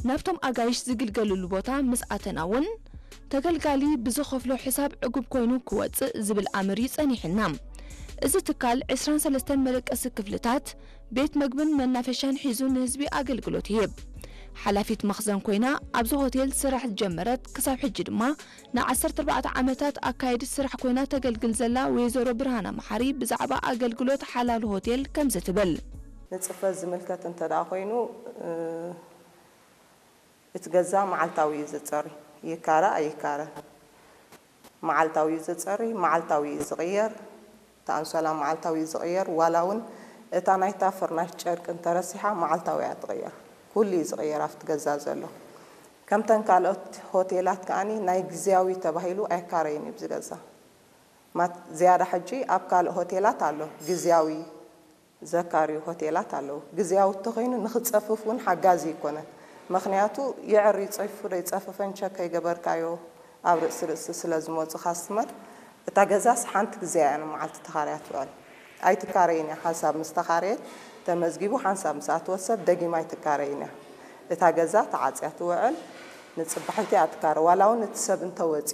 ናብቶም ኣጋይሽ ዝግልገልሉ ቦታ ምስ ኣተና እውን ተገልጋሊ ብዝኸፍሎ ሕሳብ ዕጉብ ኮይኑ ክወፅእ ዝብል ኣምር እዩ ጸኒሕና። እዚ ትካል ዕስራን ሰለስተን መደቀሲ ክፍልታት፣ ቤት መግብን መናፈሻን ሒዙ ንህዝቢ ኣገልግሎት ይህብ። ሓላፊት መኽዘን ኮይና ኣብዚ ሆቴል ስራሕ ዝጀመረት ክሳብ ሕጂ ድማ ንዓሰርተ ኣርባዕተ ዓመታት ኣካየዲት ስራሕ ኮይና ተገልግል ዘላ ወይዘሮ ብርሃና መሓሪ ብዛዕባ ኣገልግሎት ሓላል ሆቴል ከምዚ ትብል። ንጽፈት ዝምልከት እንተ ደኣ ኮይኑ፣ እ፣ እቲ ገዛ መዓልታዊ እዩ ዝጸሪ። ይካረ ኣይካረ መዓልታዊ እዩ ዝጸሪ፣ መዓልታዊ እዩ ዝቕየር። እቲ ኣንሶላ መዓልታዊ እዩ ዝቕየር። ዋላ እውን እታ ናይታ ፍርናሽ ጨርቂ እንተረሲሓ መዓልታዊ እያ ትቕየር። ኩሉ እዩ ዝቕየር ኣብቲ ገዛ ዘሎ። ከምተን ካልኦት ሆቴላት ከኣኒ ናይ ግዝያዊ ተባሂሉ ኣይካረይን እዩ ኣብዚ ገዛ። ማት-፣ ዝያዳ ሕጂ ኣብ ካልእ ሆቴላት ኣሎ፣ ግዝያዊ ዘካርዩ ሆቴላት ኣለዉ። ግዝያዊ እንተኾይኑ ንኽጸፍፍ እውን ሓጋዚ ኣይኮነን። ምኽንያቱ ይዕር ይጸይፉ ዶ ይጸፍፈን ቸክ ከይገበርካዮ ኣብ ርእሲ ርእሲ ስለ ዝመጹ ካስትመር፣ እታ ገዛስ ሓንቲ ግዜ እያ ንመዓልቲ ተኻርያ ትውዕል። ኣይትካረይን እያ። ሓንሳብ ምስ ተኻረየት ተመዝጊቡ ሓንሳብ ምስ ኣተወ ሰብ ደጊማ ኣይትካረይን እያ። እታ ገዛ ተዓጽያ ትውዕል፣ ንጽባሒቲ እያ ትካረ። ዋላ እውን እቲ ሰብ እንተወጺኡ